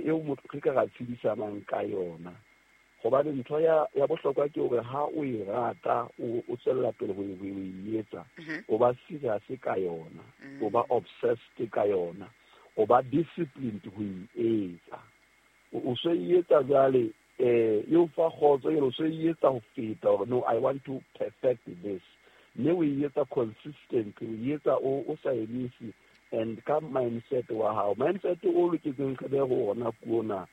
eo motho re ka ra tshedisanang ka yona. Hobane ntho ya bohlokwa ke hore ha o e rata, o tswella pele ho e etsa, o ba serious ka yona, o ba obsessed ka yona, o ba disciplined ho e etsa. O so e etsa jwale, e o fa kgotso, o so e etsa ho feta hore no, I want to perfect this. Mme o e etsa consistently, o e etsa o sa emise, and ka mindset wa hao, mindset o loketseng re be ho ona ke ona,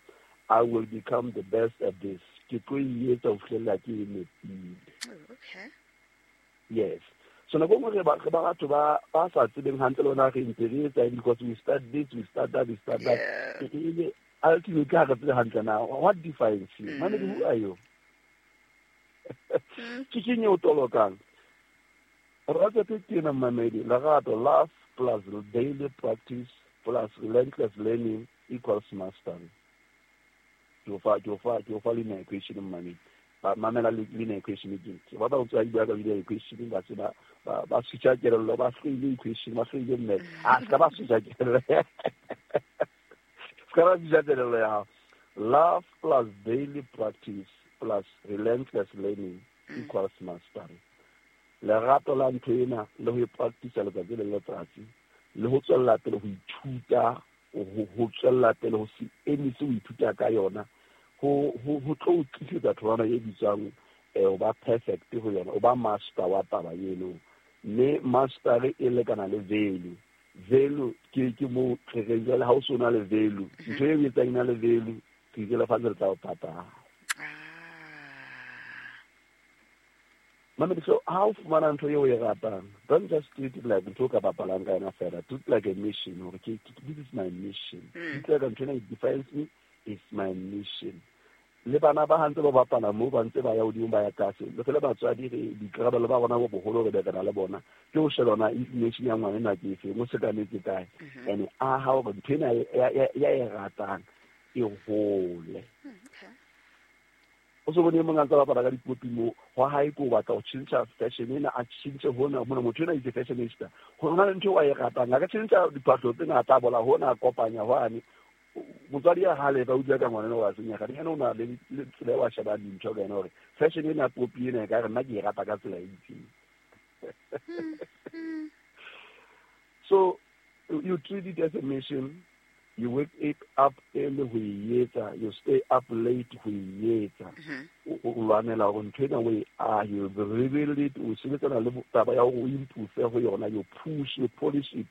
I will become the best at this. Ke tlo e etsa ho fihlella ke e nepile. Oh, okay. Yes. So nako nngwe re ba batho ba sa tsebeng hantle le ona re ntse re etsa because we start this, we start that, we start that. Yeah. Ultimately ha re tsebe hantle na what defines you? Mamedi, who are you? Ke keng eo tolokang? Recipe ke ena, mamedi. Lerato, love plus daily practice plus relentless learning equals mastery. Ke o fa linear equation, mamedi. Ba mamela linear equation ke. Ke batla ho tswa bua ka linear equation, ba se ba switcha kelello, ba hloile equation, ba hloile math. A ska ba switcha kelello. Ska ba switcha kelello ya hao. Love plus daily practice plus relentless learning equals mastery. Lerato la ntho ena le ho e practice letsatsi le letsatsi, le ho tswella pele ho ithuta, ho tswella pele ho se emise ho ithuta ka yona, ho tlo o tlisetsa tholwana e bitswang o ba perfect ho yona, o ba master wa taba eno. Mme mastery e lekana le value. Value ke mo re reng jwale ha o so na le value, ntho e etsang e na le value, ke itse lefatshe le tla o patala. Mamedi, so ha o fumana ntho eo o e ratang, don't just treat it like ntho o ka bapalang ka yona fela. Treat it like a mission. Hore ke, this is my mission. Treat it like ntho ena it defines me, it's my mission. Le bana ba hantse ba bapala moo, ba ntse ba ya hodimo, ba ya tlase. Le re le batswadi re boikarabelo ba rona bo boholo re be re na le bona. Ke ho sheba hore na inclination ya ngwana ena ke efe, mo sekametse kae. And a ha hore ntho ena ya e ratang e hole. Okay. O so bone e mong a ntse a bapala ka dipopi moo, hwa hae ke o batla ho tjhentjha fashion ena, a tjhentjhe hona, mona motho ena itse fashionista. Ho na le ntho eo a e ratang, a ka tjhentjha diphahlo tse ngata, a bola hona, a kopanya hwane. Motswadi ya hale ba utlwa ka ngwana ena wa senyeha, le yena o na le tsela eo a shebang dintho ka yona hore fashion ena, popi ena, e ka re nna ke e rata ka tsela e itseng. So you treat it as a mission. You wake it up early ho e etsa, you stay up late ho e etsa. O lwanela hore ntho ena o e ahe, you rebuild it, o sebetsana le taba ya hore o improve ho yona, you push, you polish it,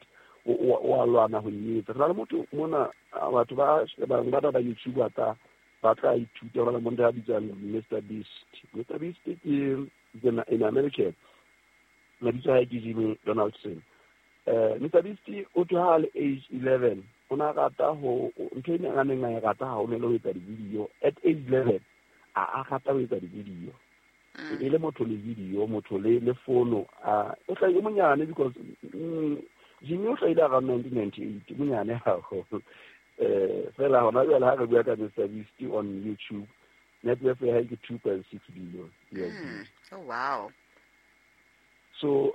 o a lwana ho e etsa. Re na le motho mona, batho ba bang ba ba YouTuber tla ba tla ithuta, hona le motho ya bitswang Mister Beast. Mister Beast ke in American. Mabitso a hae ke Jimmy Donaldson. Mister Beast o tloha ha le age 11, o na rata ho, ntho e neng a neng a e rata haholo le ho etsa di-video. At age 11, a rata ho etsa di-video. E le motho le video, motho le fono. O hlahile o monyane because, Jimmy o hlahile around 1998, monyane haholo. Fela hona jwale ha re bua ka Mister Beast on YouTube, net worth ya hae ke 2.6 billion USD. Oh, wow. So,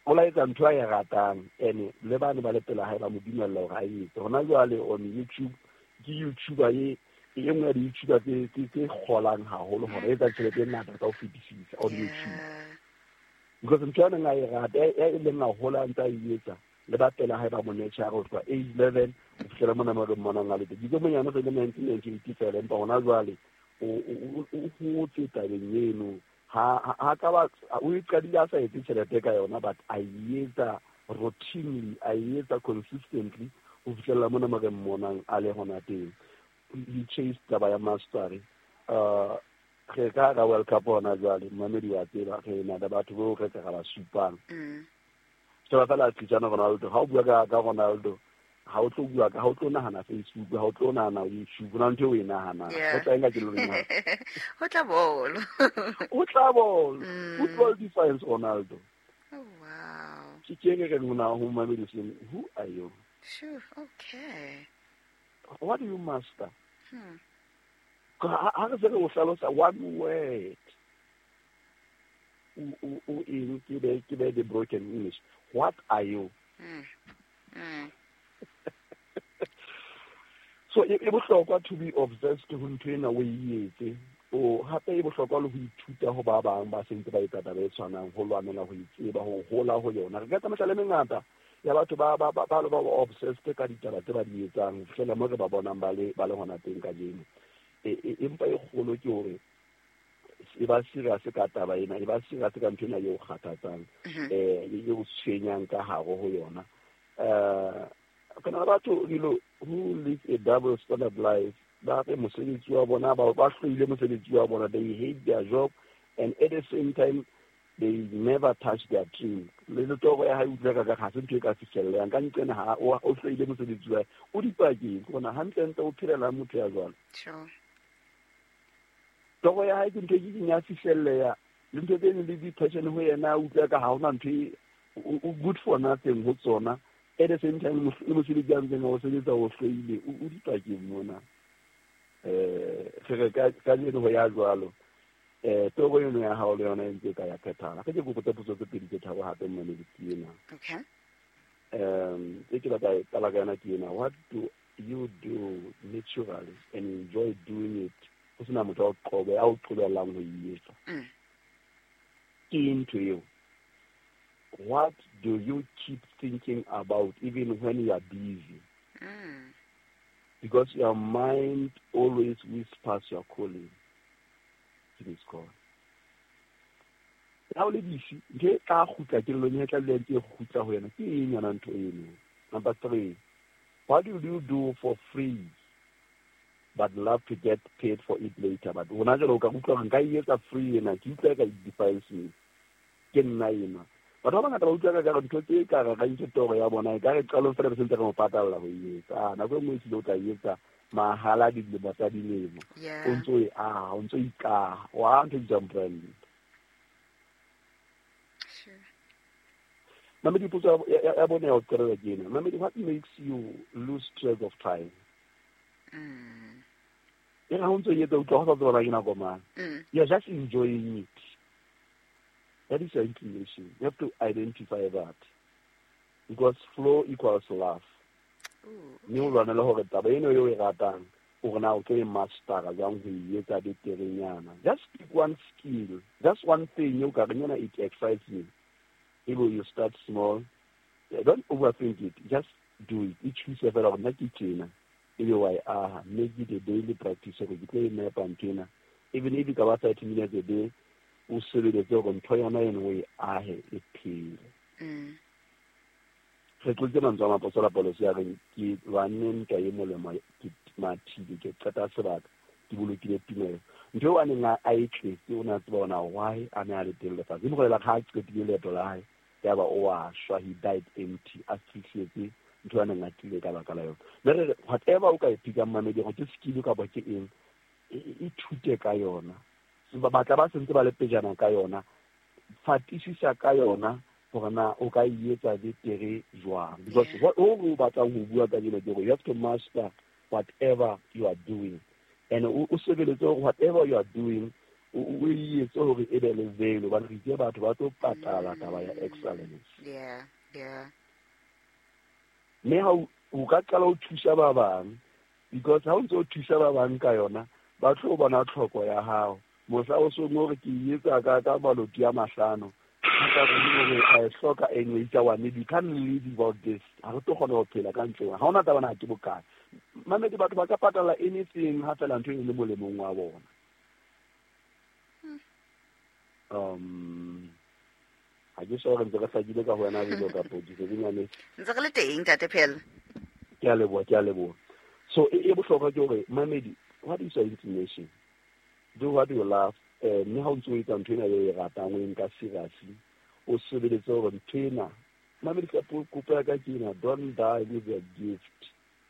o la etsa ntho a e ratang, ene le bane ba le pela hae ba mo dumella hore a e etse. Hona jwale on YouTube, ke YouTuber e nngwe ya di-YouTuber tse kgolang haholo hore e etsa tjhelete e ngata ka ho fetisisa on YouTube. Because ntho ya neng a e rata, e leng a hola a ntse a e etsa, le ba pela hae ba mo nurture ho tloha age 11 ho fihlela mona mo re mmonang a le teng. Ke itse monyane o se le 1998 fela, empa hona jwale o hotse tabeng eno. Ha ka ba, o e qadile a sa etse tjhelete ka yona, but a e etsa routinely, a e etsa consistently ho fihlella mona mo re mmonang a le hona teng. He chased taba ya mastery. Re ka hara World Cup hona jwale, mmamedi wa tseba, re na le batho bao re ka ra ba supang. Sheba fela Cristiano Ronaldo, ha o bua ka Ronaldo, ha o tlo bua ka, ha o tlo nahana Facebook, ha o tlo nahana YouTube, hona ntho eo o e nahanang. Ho tla eng ka kelellong ya hao? Ho tla bolo. Ho tla bolo. Football defines Ronaldo. Oh, wow. Ke ke re reng hona ho mamedi seng, who are you? Sure, okay. What do you master? Ha re se re o hlalosa one word. O eng, ke be the broken English. What are you? So e bohlokwa to be obsessed ho ntho ena o e etse. O hape e bohlokwa le ho ithuta ho ba bang ba sentse ba etsa taba e tshwanang, ho lwanela ho itseba, ho hola ho yona. Re ka tsa mehlala e mengata ya batho ba ba ba ba ba obsessed ka ditaba tse ba di etsang ho fihlela mo re ba bonang ba le hona teng kajeno. Empa e kgolo ke hore e ba serious ka taba ena, e ba serious ka ntho ena eo kgathatsang, e o tshwenyang ka hare ho yona. Kana batho who live a double standard life, ba re mosebetsi wa bona, ba hloile mosebetsi wa bona, they hate their job and at the same time they never touch their dream. Le toro ya hae utlwa ka ga se ntho e ka fihlellang ka nqena ha o hloile mosebetsi wa o dipakeng bona hantle o phelela motho ya jwalo. Sure. Toro ya hae ke ntho e ke ya fihlelleya le ntho tse le di passion ho yena utlwa ka ha hona ntho o good for nothing ho tsona. At the same time le mosebetsi a ntseng o sebetsa o hloile o dipakeng mona. Re ka jeno ho ya jwalo. Toro eno ya hao le yona e ntse ka ya phethala. Ke kopo tsa potso tse pedi tse tharo hape mmane ke ena. Okay. E ke batla qala ka yona ke ena. What do you do naturally and enjoy doing it? Ho sena motho a qobe a o qobellang ho e etsa. Ke ntho eo. What do you keep thinking about even when you are busy? Because your mind always whispers your calling. To this call. Ha o le busy, ntho e tla kgutla kelellong e tla dula ntse e kgutla ho yena. Ke eng yona ntho eno? Number 3, what do you do for free but love to get paid for it later? But hona jwale o ka utlwa hore nka e etsa free ena, ke utlwa ka it defiles me. Ke nna ena. Batho ba bangata ba utlwa ka ntho tse ka re rantse toro ya bona, e ka re qalong fela re sentse re mo patalla ho e etsa. Nako e nngwe ehlile o tla e etsa mahala dilemo tsa dilemo. O ntso e aha, o ntso ikaha. Wa ntho e bitswang brand. Sure. Mamedi, potso ya bone ya ho qetela ke ena. Mamedi, what makes you lose track of time? E re ha o ntso e etsa, utlwa ho sa tseba ke nako mang. You are just enjoying it. That is your inclination. You have to identify that. Because flow equals love. Mme o lwanele hore taba eno eo e ratang, o re na o tlo e mastera jwang ho e etsa beterenyana. Just pick one skill. Just one thing eo ka reng yona it excites me. Ebe you start small. Don't overthink it. Just do it. E thuse fela hore nna ke tjena. Ebe wa e aha. Make it a daily practice hore ke tlo e nepa ntho ena. Even if e ka ba 30 minutes a day, o sebeletse hore ntho yona eno o e ahe e phele. Re tlotse mantswe a Moapostola Paulus ya reng ke lwanne ntwa e molemo, ke mathile, ke qeta sebaka, ke bolokile tumelo. Ntho eo a neng a e tletse, o ne a tseba hore why a ne a le teng lefatsheng. E mo bolela ha a qetile leeto la hae, yaba o a shwa, he died empty, a fihletse ntho a neng a tlile ka baka la yona. Mme re re, whatever o ka e pickang mamedi, hore ke skill kapa ke eng, ithute ka yona. Batla ba sentse ba le pejana ka yona, fatisisa ka yona hore na o ka e etsa betere jwang. Because what o batlang ho bua ka jeno ke hore you have to master whatever you are doing. And o sebeletse hore whatever you are doing, o e etse hore e be le value. Hobane re itse batho ba tlo patala taba ya excellence. Yeah, yeah. Mme ha o ka qala ho thusa ba bang, because ha o ntse o thusa ba bang ka yona, ba tlo bona tlhoko ya hao. Mohla o song hore ke e etsa ka maloti a mahlano, ka re a e hloka anyway, itsa wa maybe you can't live without this. Ha re tlo kgona ho phela ka ntle. Ha hona taba na ke bokae. Mamedi, batho ba ka patala anything ha fela ntho e le molemong wa bona. Ha ke sure ntse re hlakile ka ho wena dilo ka podi, se nyane. Ntse re le teng, Ntate Phel. Ke a leboha, ke a leboha. So e bohlokwa ke hore mamedi, what is your inclination? Do what you love. Mme ha o ntso o etsa ntho ena eo e ratang, o e nka seriously, o sebeletse hore ntho ena, mamedi, ka kopo ya ka ke ena, don't die with your gift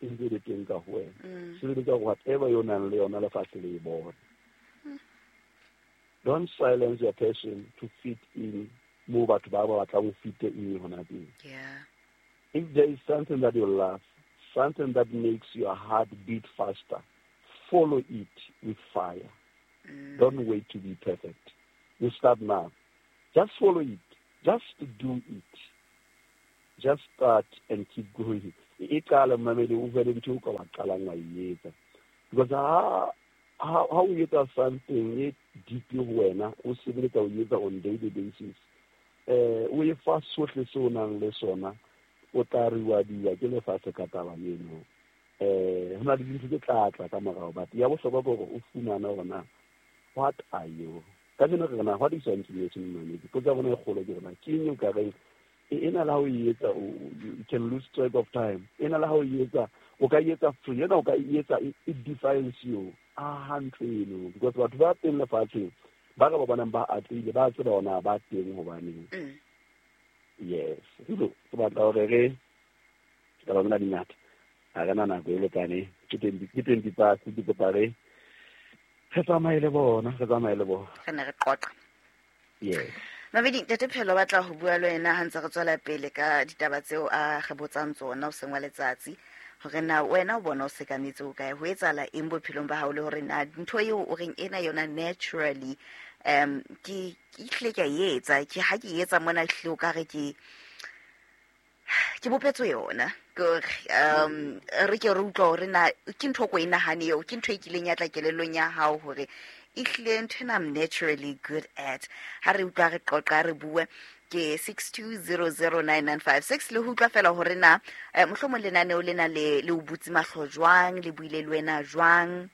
e ntse le teng ka ho wena. Sebeletsa hore whatever yo nang le yona lefatshe le e bone. Don't silence your passion to fit in moo batho ba ba batlang ho fit in hona teng. Yeah. If there is something that you love, something that makes your heart beat faster, follow it with fire. Don't wait to be perfect. You start now. Just follow it. Just do it. Just start and keep going. E qala mmamedi, o be le ntho o ka wa qalang wa e etsa, because ha o etsa something e deep ho wena, o sebeletsa o etsa on daily basis, o e fa sohle se o nang le sona, o tla reward-iwa ke lefatshe ka taba eno. Ho na le dintho tse tla tla ka morao, but ya bohlokwa ke hore o fumane hore na what are you. Kajeno re na what is your inclination, mmamedi? Potso ya rona e kgolo ke rona ke eng o ka reng e na le ha o e etsa you can lose track of time, e na le ha o e etsa o ka e etsa free, ena o ka e etsa it defines you a hantle eno, because batho ba teng lefatsheng ba re ba bonang ba atlehile, ba tseba hore ba teng hobaneng. Yes, so ke batla hore re taba tsena di ngata, ha re na nako e lekaneng, ke 20 past, ke kopa re tsamaye le bona, re tsamaye le bona. Re ne re qoqa. Yes. Mamedi, Ntate Phelo batla ho bua le wena ha ntse re tswela pele ka ditaba tseo a re botsang tsona o seng wa letsatsi, hore na wena o bona o sekametse o kae, ho etsahala eng bophelong ba hao, le hore na ntho eo o reng ena yona naturally ke ehlile ke a e etsa, ke ha ke e etsa mona, ehlile o ka re ke bopetswe yona. Ke hore re ke re utlwa hore na ke ntho o ko e nahane eo, ke ntho e kileng ya tla kelellong ya hao hore ehlile ntho ena I'm naturally good at. Ha re utlwa re qoqa, re bue ke 62009956, le ho utlwa fela hore na mohlomong lenaneo lena le o butse mahlo jwang, le buile le wena jwang,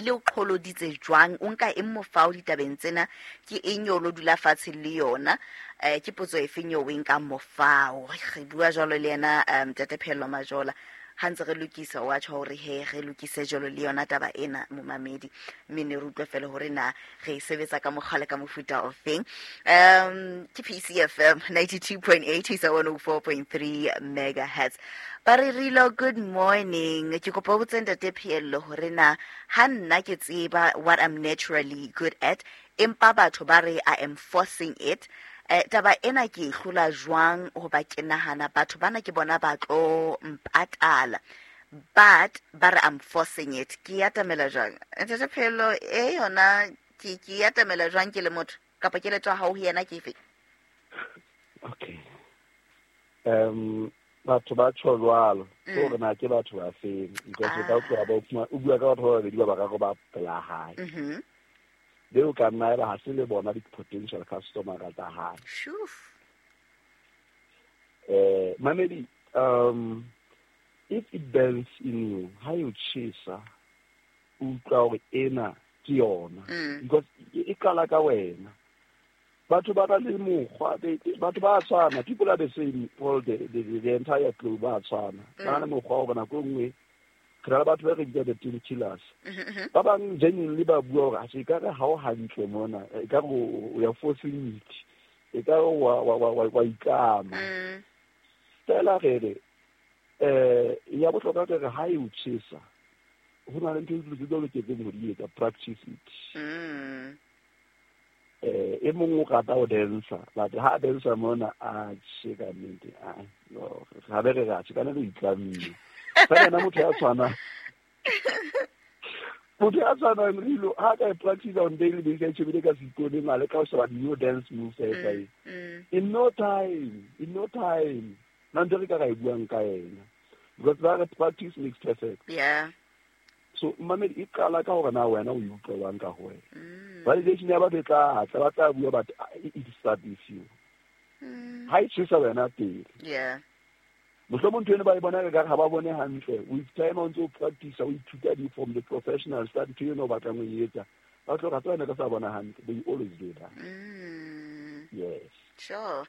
le o qholoditse jwang, o nka eng mofao ditabeng tsena, ke eng eo lo dula fatshe le yona, ke potso efeng eo o e nkang mofao. Re bua jwalo le yena Ntate Phehello Majola ha ntse re lokisa, wa tjho hore he re lokise jwalo le yona taba ena, momamedi, mme ne re utlwe fela hore na re e sebetsa ka mokgwa le ka mofuta ofeng. Ke PCFM 92.8 isa 104.3 megahertz. Ba re rilo, good morning, ke kopa o botse Ntate Phehello hore na ha nna ke tseba what I'm naturally good at, empa batho ba re I am forcing it, taba ena ke e hlola jwang? Hoba ke nahana batho bana ke bona ba tlo mpatala, but ba re I'm forcing it. Ke atamela jwang, Ntate Phehello? E yona ke atamela jwang ke le motho, kapa keletso ya hao ho yena ke efe? Okay, batho ba tjho jwalo ke hore na ke batho ba feng, because o ka tloha ba o bua ka batho ba babedi, ba bararo ba pela hae, beo ka nna eba ha se le bona di-potential customer tsa hae. Shuf. Mamedi, if it burns in you, ha e o tjhesa, o utlwa hore ena ke yona, because e qala ka wena. Batho ba na le mokgwa, batho ba tshwana, people are the same all the entire globe ba tshwana, ba na le mokgwa wa hore nako e nngwe re na le batho ba re bitsa the team killers. Ba bang genuinely ba bua hore atjhe, ekare ha o hantle mona, ekare o ya forcing it, ekare wa itlama. Fela re re ya bohlokwa ke re ha e o tjhesa, ho na le ntho tse o loketseng ho di etsa, practice it. E mong o rata ho dancer, but ha dancer mona a tjhe ka nnete, a no ha be re re atjhe ka nnete o itlamme. Fela yena motho ya tshwanang rilo, ha ka e practice on daily basis, a tjhebile ka seiponeng, a leka ho sheba new dance moves a etsa eng, in no time na ntho re ka ra e buang ka yena, because ba re practice makes perfect. So mamedi, e qala ka hore na wena o e utlwelwang ka ho wena. Validation ya batho e tla tla, ba tla bua, but it start with you. Ha e tjhesa wena pele, mohlomong ntho eno ba e bona ka ha ba bone hantle. With time o ntse o practice, o ithuta di from the professionals tsa ntho eno o batlang ho e etsa, ba tlo ra tseba ka sa bona hantle. They always do that. Yes. Sure.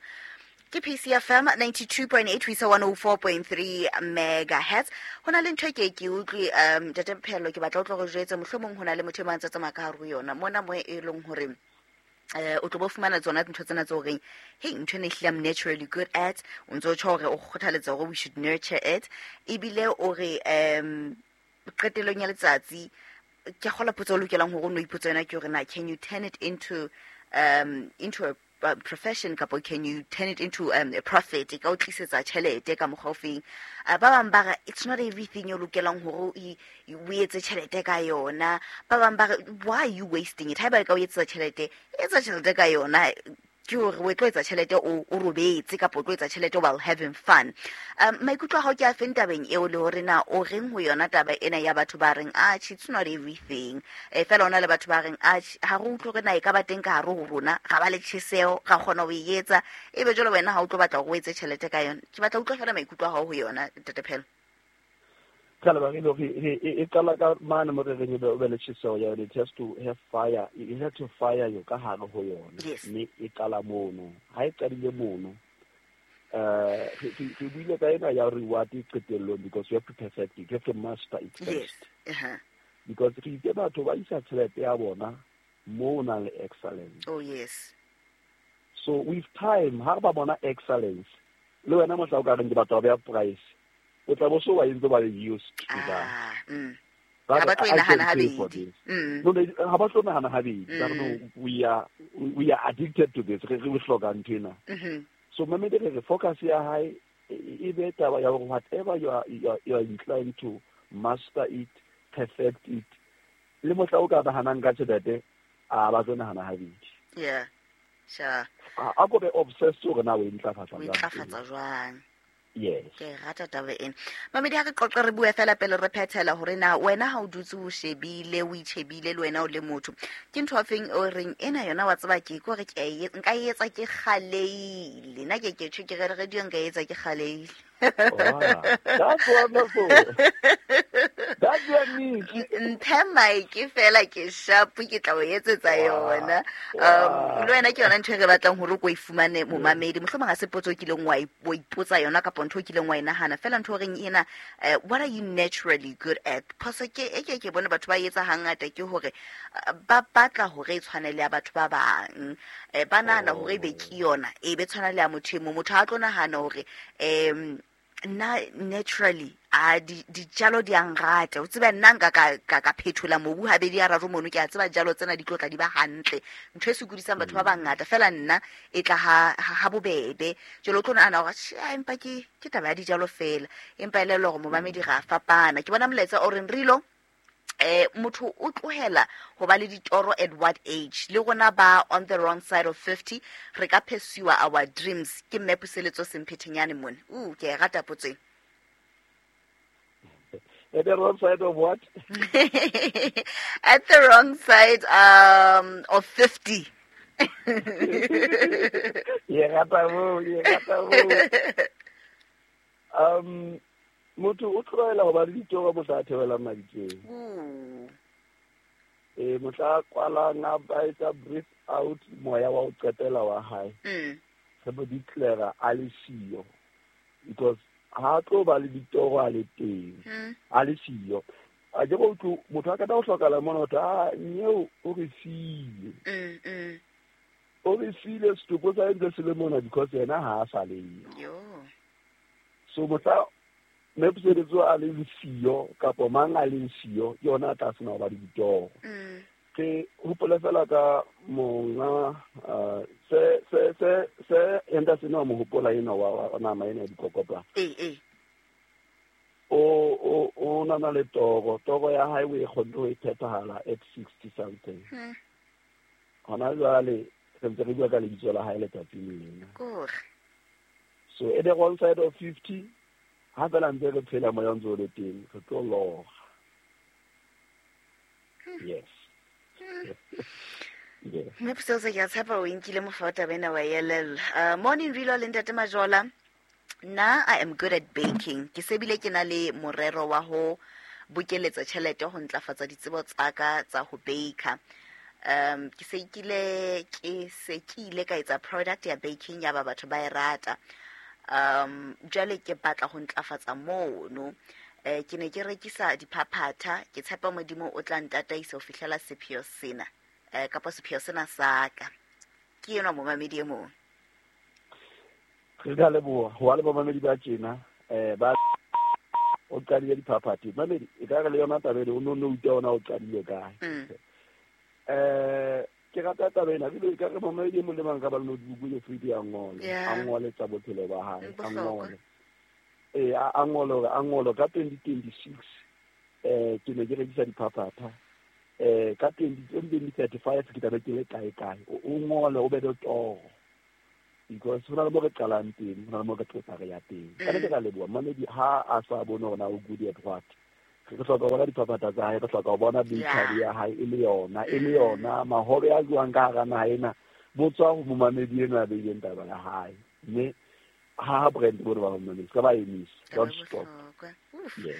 Ke PCFM 92.8 ho isa 104.3 megahertz. Ho na le ntho e ke utlwe, Ntate Phehello, ke batla o tlo re jwetse, mohlomong ho na le motho e mang tsa tsamaya ka hare ho yona mona mo e leng hore o tlo bo fumana tsona ntho tsena tse horeng hey, ntho ena ehlile I'm naturally good at. O ntso tjho hore o kgothaletsa hore we should nurture it, ebile o re qetellong ya letsatsi ke kgola potso o lokelang hore o no ipotsa yona ke hore na can you turn it into a profession, kapa can you turn it into a profit, e ka o tlisetsa tjhelete ka mokgwa o feng. Ba bang ba re it's not everything o lokelang hore o etse tjhelete ka yona. Ba bang ba re why are you wasting it? Haeba e ka o etsetsa tjhelete, etsa tjhelete ka yona. Ke hore o tlo etsa tjhelete o robetse kapa o tlo etsa tjhelete while having fun. Maikutlo a hao ke a feng tabeng eo, le hore na o reng ho yona taba ena ya batho ba reng atjhe, it's not everything, fela ona le batho ba reng atjhe, ha re utlwe hore na e ka ba teng ka hare ho rona, ra ba le tjheseho, ra kgona ho e etsa, ebe jwale wena ha o tlo batla hore o etse tjhelete ka yona. Ke batla utlwa fela maikutlo a hao ho yona, Ntate Phelo. Ka lebaka le re e qala ka mane mo re reng o be le tjheseho ya yone. It has to have fire, it has to fire yo ka hare ho yona. Mme e qala mono. Ha e qadile mono, re buile ka ena ya reward qetellong, because you have to perfect it, you have to master it first. Because re itse batho ba isa tjhelete ya bona mo nang le excellence. Oh yes. So with time, ha ba bona excellence, le wena mohla o ka reng ke batho ba beha price, o tla bo so wa entse ba used to that. Ha ba tlo e nahana habedi. No, ha ba tlo nahana habedi. Ba re, no, we are addicted to this. Re hloka ntho ena. So mamedi re focus ya hae e be taba ya hore whatever you are inclined to master it, perfect it. Le mohla o ka nahanang ka tjhelete, a ba tlo nahana habedi. Yeah. Sure. A ko be obsessed hore na o e ntlafatsa jwang. O e ntlafatsa jwang. Yes. Ke rata taba ena. Mamedi, ha re qoqe re bue fela pele re phethela hore na wena ha o dutse o shebile, o itjhebile le wena o le motho, ke ntho afeng o reng ena yona wa tseba ke hore ke nka e etsa ke kgaleile. Nna ke tjho ke re radio nka e etsa ke kgaleile. Wow, that's wonderful. That's your niche. Mphe mic fela ke sharp, ke tla o etsetsa yona. Le wena ke yona ntho e re batlang hore o ko e fumane momamedi. Mohlomong ha se potso o kileng wa ipotsa yona kapa ntho o kileng wa e nahana. Fela ntho o reng ena, what are you naturally good at? Phoso ke e ke ke bone batho ba etsa hangata ke hore ba batla hore e tshwane le ya batho ba bang. Ba nahana hore e be ke yona, e be tshwana le ya motho e mong. Motho ha tlo nahana hore nna naturally a dijalo di a nrata. O tsebe nna nka ka phethola mobu habedi a raro mono, ke a tseba dijalo tsena di tlo tla di ba hantle. Ntho e sokodisang batho ba bangata fela nna e tla ha bobebe. Jwale o tlo nahana hore tjhe, empa ke taba ya dijalo fela, empa e le hore momamedi ra fapana. Ke bona molaetsa o reng Rilo, motho o tlohela ho ba le ditoro at what age? Le rona ba on the wrong side of 50 re ka pursue our dreams. Ke mme Puseletso Semphethenyane mona. Ke e rata potso ena. At the wrong side of what? At the wrong side of 50. Ye rata mo, ye rata mo. Motho o tlohela ho ba le ditoro mohla a theohelang mabitleng. Mohla a kwalang a ba etsa breathe out moya wa ho qetela wa hae. Re mo declare a le siyo. Because ha tlo ba le ditoro a le teng, a le siyo. A ke go utlwe motho a ka tla ho hlokahala mona hore a nyeo o re siile. O re siile setopo sa ntse se le mona because yena ha a sa le yo. So mohla mme Puseletso a leng siyo kapa mang a leng siyo, ke yona a tla sena ho ba le ditoro. Ke hopole fela ka monga se Henderson wa mo hopola ena wa nama ena ya dikokopla. O nana le toro, toro ya hae o e kgonne ho e phethahala at 60 something. Hona jwale re ntse re bua ka lebitso la hae letsatsing lena. So at the wrong side of 50, ha fela ntse re phela moya o ntse o le teng, re tlo lora. Yes. Yes. Mme Puseletso, ke a tshepa o nkile mofa taba ena wa elella. Morning Rilo le Ntate Majola. Nna I am good at baking. Ke sebile ke na le morero wa ho bokeletsa tjhelete ho ntlafatsa ditsebo tsa ka tsa ho baker. Ke se kile ka etsa product ya baking ya ba batho ba e rata. Jwale ke batla ho ntlafatsa mono. Ke ne ke rekisa diphaphatha, ke tshepa Modimo o tla ntataisa ho fihlela sepheo sena, kapa sepheo sena sa ka. Ke enwa momamedi e mong. Re ka leboha ho ba le bamamedi ba tjena, ba o qadile diphaphatha. Mamedi e ka re le yona taba ena o no utlwa ona o qadile kae. Ke rata taba ena, ebile e ka re mamedi e mong le mang ka ba le notebook e free a ngole, a ngole tsa bophelo ba hae, a ngole. A ngole hore a ngole ka 2026, ke ne ke rekisa diphaphatha. Ka 2035 ke tla be ke le kae kae. O ngole o be le toro. Because ho na le mo re qalang teng, ho na le mo re tlosa re ya teng. Ka nnete ka leboha mamedi ha a sa bone hore na o good at what. Re hloka ho bona diphaphatha tsa hae, re hloka ho bona bakery ya hae e le yona, e le yona mahobe a jwang ka hara naha ena bo tswa ho momamedi enwa a beileng taba ya hae. Mme ha brand bone ba momamedi, se ka ba emisa. Don't stop. Yes.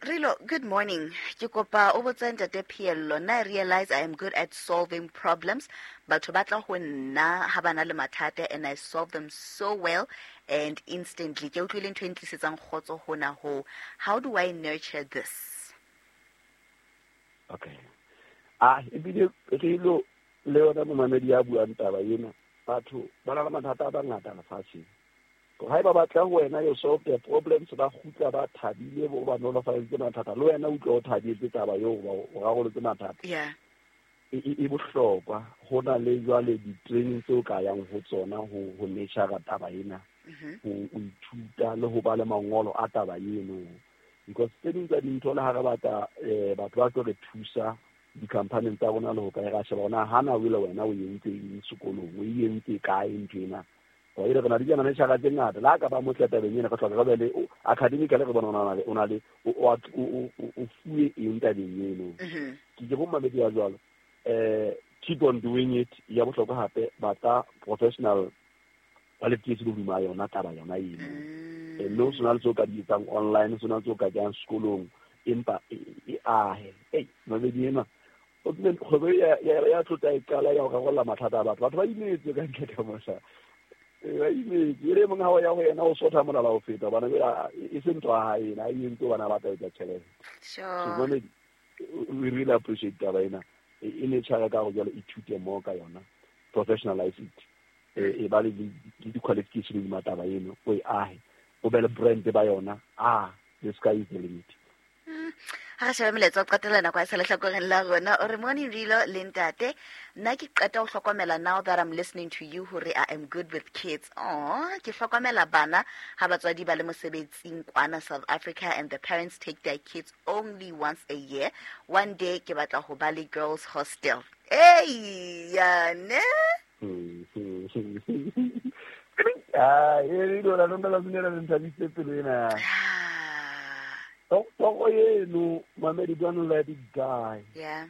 Rilo, good morning. Ke kopa o botse ntate Pheello. Nna I realize I am good at solving problems. Batho ba tla ho nna ha ba na le mathata and I solve them so well and instantly. Ke utlwile ntho e ntlisetsang kgotso hona ho. How do I nurture this? Okay. Ah, ebile Rilo le yona momamedi ya buang taba ena, batho ba na le mathata a bangata lefatsheng. Haeba ba tla ho wena you solve their problems, ba kgutla ba thabile, bo ba nolofaditse mathata, le wena utlwa o thabetse taba eo o rarolotse mathata. Yeah. E bohlokwa. Ho na le jwale di-training tseo ka yang ho tsona ho nurture taba ena, ho ithuta le ho ba le mangolo a taba eno. Because tse ding tsa dintho le ha re batla batho ba tlo re thusa di-company tsa rona le ho kae, ra sheba hore na hana o ile wena o entse eng sekolong, o entse kae ntho ena. Wa ile re na le di-manager tse ngata, le ha ka ba motle tabeng ena, re hloka re be le academically re bona o na le o fuwe eng tabeng eno. Ke bo mamedi ya jwalo. Keep on doing it. Ya bohlokwa hape batla professional qualification hodima yona taba yona eno. Mme o sena le tseo ka di etsang online, o sena le tseo ka di yang sekolong, empa e ahe. Ei, mamedi ena o tlile kgwebo ya tlotla e qala ya ho rarolla mathata a batho. Batho ba imetswe ka ntle ka mosha. Ba imetswe. E le mong ha o ya ho yena o sotha molala ho feta, hobane e se ntho ya hae ena, e entse hobane a batla ho etsa tjhelete. Sure. So, mamedi, we really appreciate taba ena. E ne tshwara ka hore jwale ithute more ka yona, professionalize it. E ba le di-qualification hodima taba eno, o e ahe, o be le brand ba yona. The sky is the limit. Ha re shebe molaetsa wa qetela nako ya sa lehlakoreng la rona. O re, morning Rilo le ntate, nna ke qeta ho hlokomela now that I'm listening to you hore I am good with kids. Oh, ke hlokomela bana ha batswadi ba le mosebetsing kwana South Africa and the parents take their kids only once a year. One day ke batla ho ba le girls hostel. Hey, ya ne? Ah, e Rilo la lona la dumela le nthabisitse pelo ena. Toro eno, mamedi, don't let it die. Yeah.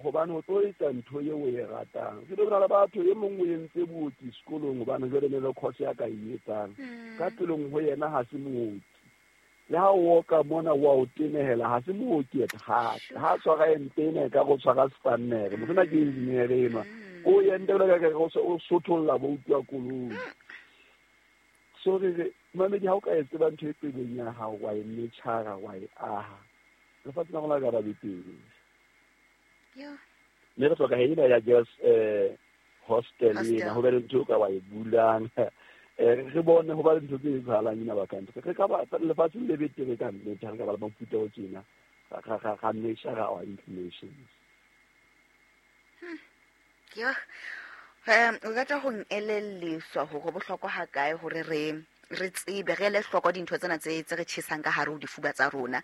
Hobane o tlo etsa ntho eo o e ratang. Ke tlo bona le batho e mong o entse booki sekolong hobane jwale ne le course ya ka e etsang. Ka pelong ho yena ha se mooki. Le ha o oka mona wa o tenehela, ha se mooki at heart. Ha tshwara ente ena e ka go tshwara spannere. Motho ona ke engineer enwa. O ente o ka re o sotholla bo utlwa koloi. So re mamedi, ha o ka e tseba ntho e pelong ya hao, wa e metjhara, wa e aha, lefatshe la rona le ka ba betere. Mme re hloka ena ya girls hostel ena, ho be le ntho eo ka wa e bulang. Re bone ho ba le ntho tse etsahalang ena ba country. Re ka ba lefatsheng le betere ka nnete, ha re ka ba le mofuta o tjena, ra metjhara our inclinations. Yo. O rata ho elelliswa hore bohlokwa ha kae hore re tsebe, re ele hloko dintho tsena tse re tjhesang ka hare ho difuba tsa rona.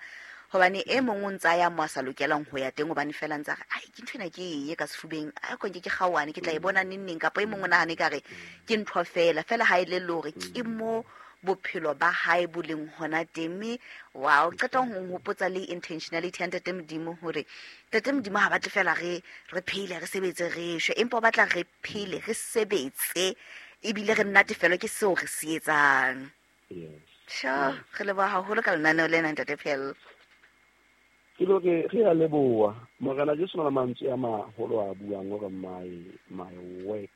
Hobane e mong o ntsa ya mo a sa lokelang ho ya teng, hobane fela ntsa re, ai, ke ntho ena ke e ka sefubeng, ai, ko nke ke kgaohane, ke tla e bona neng neng, kapa e mong o nahane ka re ke ntho fela, fela ha e le hore ke mo bophelo ba hae bo leng hona teng. Mme wow, qeta ho nhopotsa le intentionality ya Ntate Modimo, hore Ntate Modimo ha batle fela re phele, re sebetse, re shwe, empa o batla re phele, re sebetse, ebile re natefelwe ke seo re se etsang. Yes. Sure, re leboha haholo ka lenaneo lena, Ntate Pheello. Ke lo re a leboha. Morena Jesu na le mantswe a maholo a buang hore my work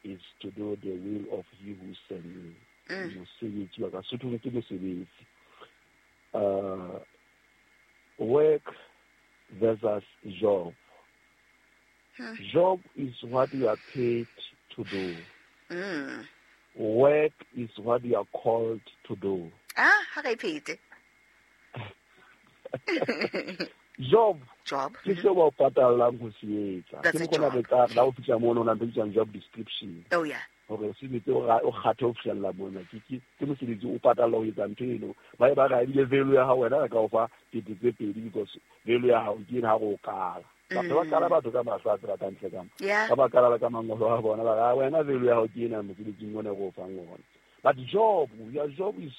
is to do the will of he who sent me. Mosebetsi wa ka, Sotho ke mosebetsi. Work versus job. Job is what you are paid to do. Work is what you are called to do. Ah, ha re phete. Job. Job. Ke seo ba o patallang ho se etsa. That's Ke a mokgwa job. re tla la o fihla mono, ho na le ntho e job description. Oh, yeah. Hore o sebetse, o kgathe ho fihlella mona. Ke mosebetsi o patalla ho etsa ntho eno. Ba e ba re ebile value ya hao wena re ka o fa kete tse pedi because value ya hao ke ena ha re o kala. Batho ba kala batho ka mahlo a tsela kantle ka mo. Ba ba kala ka mangolo a bona, ba re, "Ah, wena value ya hao ke ena mosebetsing ona re o fang ona." But job, your job is